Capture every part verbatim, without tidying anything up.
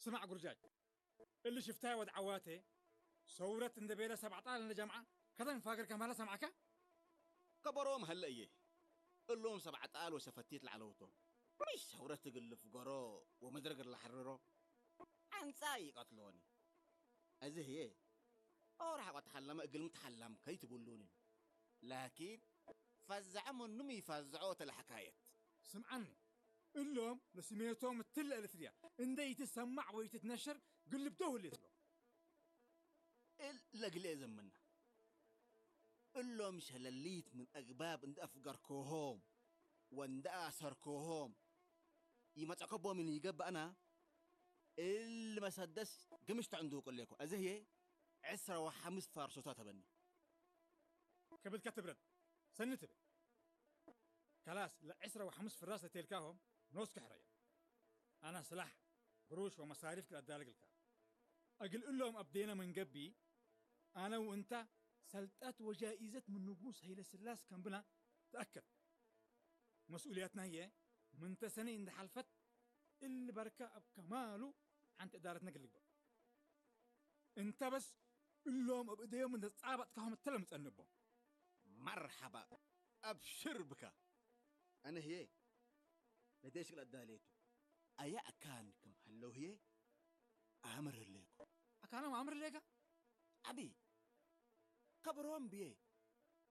ስማዕ ጉርጃጅ፣ እሊ ሽፍታይ ወድ ዐዋቴ ሰውረት እንዴ ቤለ ሰብ ዐጣል እንዴ ጀምዐ ከተን ፋግር ከማለ ሰምዐከ? ከበሮም ሀለ እዬ። እሎም ሰብ ዐጣል ወሸፈቲት ለዐለው ቶም። ምሽ ሰውረት እግል ልፍገሮ ወመድረግ ለሐርሮ ዐንጻ ኢቀትሎኒ። አዜ ህዬ ኦር ሐቆ ተሐለመ እግልሚ ተሐለምከ ኢትቡሉኒ። ላኪን ፈዘዐ ምኑም ኢፈዘዖ ተ ለሐካየት። ስምዐኒ፣ እሎም ለስሜቶም እትለ ኤሪትርያ እንዴ ኢትሰማዕ ወኢትትነሸር ግልብዶ ህሌት እሎም። እል ለግሌ ዘምና። እሎም ሸለሊት ምን አግባብ እንዴ አፍገርኮሆም ወእንዴ አሰርኮሆም ኢመጸከቦ ምን ኢገብአና፣ እል መሰደስ ግምሽ ተዕንዱቅ እሌኮ። አዜ ህዬ ዕስረ ወሐምስ ፋርሶታ ተበኒ። ክብድከ ትብረድ፣ ሰኒ ትቤ። ከላስ፣ ለዕስረ ወሐምስ ፍራስ ለቴልካሆም ኖስከ ሕረዮም። አነ ስላሕ፣ ግሩሽ ወመሳሪፍ ክል አዳልግ እልካ። እግል እሎም አብዴነ ምን ገብእ፣ አነ ወእንተ ሰልጠት ወጃኢዘት ምን ንጉስ ሀይለስላስ ከንብና ተአከድ። መስኡልያትና ህዬ ምንተ ሰኒ እንዴ ሐልፈት እሊ በርከ እብ ከማሉ ሐንቲ እዳረትነ እግል ልግበእ። እንተ በስ እሎም እብ እደዮም እንዴ ጻበጥካሆም እተ ለምጸንቦም። መርሐባ፣ አብሽር ብካ። አነ ህዬ ለዴሽ እግል አዳሌቱ። አየ አካን ክም ሀለው ህዬ አምር ህሌኮ። አካኖም አምር ህሌከ? አቢ፣ ከብሮም ብዬ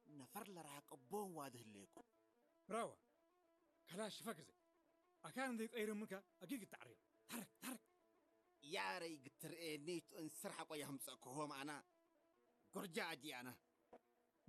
ነፈር ለራቀቦም ዋዲ ህሌኮ። ብራወ፣ ከላሽ ፈግዘ። አካን እንዴ ቀይርምከ አጊግ ተዕሬ። ታረክ፣ ታረክ። ያረይ ግትርኤኒ ቱ እንስር ሐቆ የህምጸክሆም አና። ጎርጃ አጂ አና።